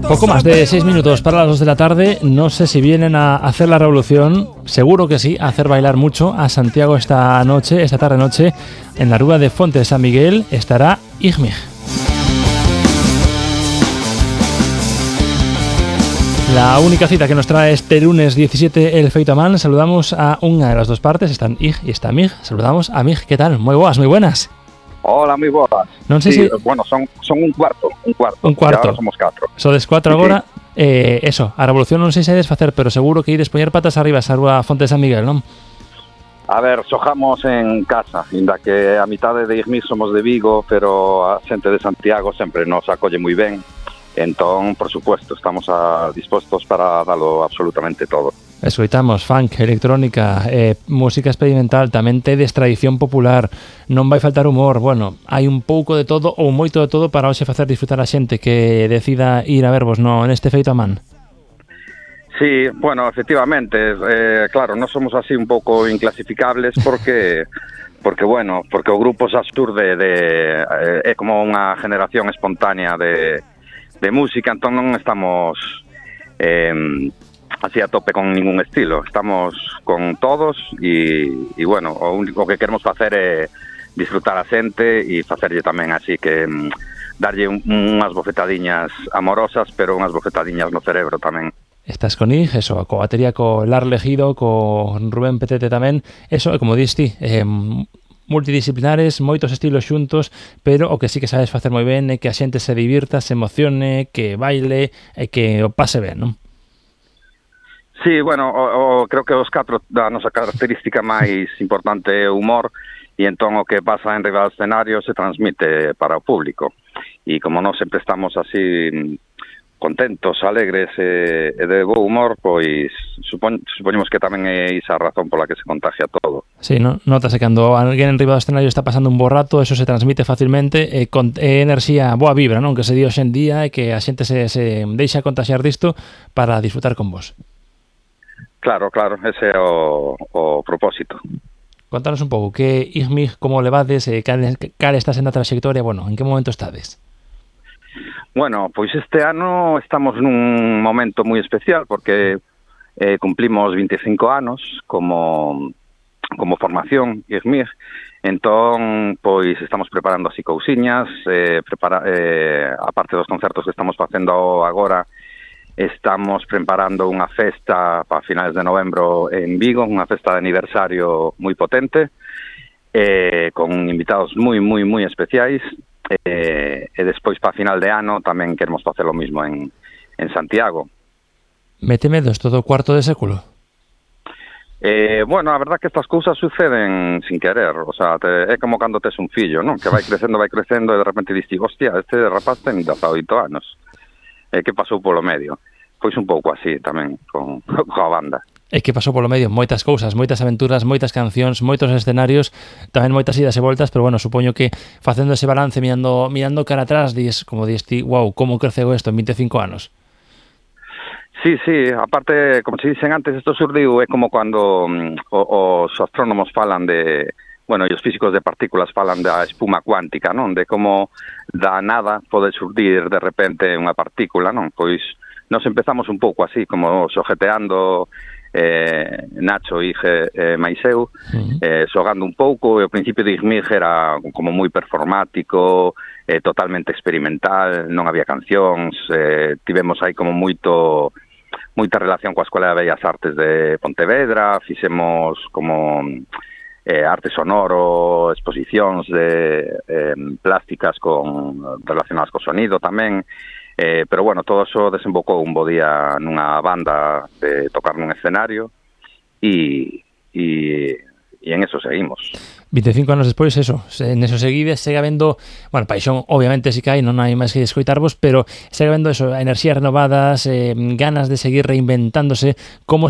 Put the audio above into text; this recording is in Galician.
Poco más de 6 minutos para las 2 de la tarde. No sé si vienen a hacer la revolución. Seguro que sí, a hacer bailar mucho a Santiago esta tarde-noche. En la Rúa de Fonte de San Miguel estará Igmig. La única cita que nos trae este lunes 17 el Feito a Man. Saludamos a una de las dos partes. Están Ig y está Mig. Saludamos a Mig. ¿Qué tal? Muy buenas. Hola, moi boas. Non sei sí, se... Bueno, son un cuarto. Un cuarto. Ahora somos 4. Sodes 4 agora. Eso, a revolución non sei se ides facer, pero seguro que ides poñer patas arriba esa Rúa Fonte de San Miguel, non? A ver, xojamos en casa, inda que a mitade de Igmig somos de Vigo, pero a xente de Santiago sempre nos acolle moi ben. Entón, por supuesto, estamos dispostos para dalo absolutamente todo. Escoitamos funk, electrónica, música experimental, tamén tedes tradición popular, non vai faltar humor, bueno, hai un pouco de todo ou moito de todo para hoxe facer disfrutar a xente que decida ir a vervos neste Feito a Man. Sí, bueno, efectivamente, claro, non somos así un pouco inclasificables porque o grupo xa xurde é como unha generación espontánea de música, entón non estamos así a tope con ningún estilo, estamos con todos e bueno, o único que queremos facer é disfrutar a xente e facerlle tamén así que darlle unhas bofetadiñas amorosas, pero unhas bofetadiñas no cerebro tamén. Estás con Ig, eso, co batería, co Lar Legido, co Rubén Petete tamén, eso, como diste, multidisciplinares, moitos estilos xuntos, pero o que sí que sabes facer moi ben é que a xente se divirta, se emocione, que baile e que o pase ben, non? Sí, bueno, creo que os 4 da nosa característica máis importante é o humor, e entón o que pasa en riba do escenario se transmite para o público. E como non sempre estamos así contentos, alegres e de bo humor, pois supoñemos que tamén é esa a razón pola que se contagia todo. Sí, ¿no? Notase cando alguén en riba do escenario está pasando un bo rato, eso se transmite facilmente, con enerxía, boa vibra, non? Que se di hoxe en día e que a xente se deixa contagiar disto para disfrutar con vos. Claro, ese é o propósito. Contanos un pouco, que Igmig, como levades, cal está sendo a trayectoria, bueno, en que momento estades? Bueno, pois este ano estamos nun momento moi especial porque cumplimos 25 anos como formación Igmig, entón pois estamos preparando así cousiñas, aparte dos concertos que estamos facendo agora, estamos preparando unha festa para finales de novembro en Vigo, unha festa de aniversario moi potente, con invitados moi especiais, e despois para final de ano tamén queremos facer lo mismo en Santiago. Mete medos todo o cuarto de século? Bueno, a verdad que estas cousas suceden sin querer, o sea, é como cando tes un fillo, non? Que vai crecendo e de repente diste, hostia, este rapaz ten 18 anos. Que pasou polo medio. Pois un pouco así tamén coa banda. E que pasou polo medio moitas cousas, moitas aventuras, moitas cancións, moitos escenarios, tamén moitas idas e voltas, pero bueno, supoño que facendo ese balance, mirando cara atrás, como diste, wow, como creceu isto en 25 anos. Sí, aparte, como se dicen antes, isto surdiu é como cando os astrónomos falan de... Bueno, e os físicos de partículas falan da espuma cuántica, non? De como da nada pode surdir de repente unha partícula, non? Pois nos empezamos un pouco así, como xojeteando Nacho, Ige máis eu, xogando un pouco, e o principio de Igmig era como moi performático, totalmente experimental, non había cancións, tivemos aí como moita relación coa Escola de Bellas Artes de Pontevedra, fixemos como... arte sonoro, exposicións de plásticas relacionadas co sonido tamén, pero bueno, todo eso desembocou un bo día nunha banda de tocar nun escenario e en eso seguimos. 25 anos despois, eso, en eso seguides, segue habendo, bueno, paixón obviamente si que hai, non hai máis que escoitarvos, pero segue habendo eso, enerxías renovadas, ganas de seguir reinventándose, como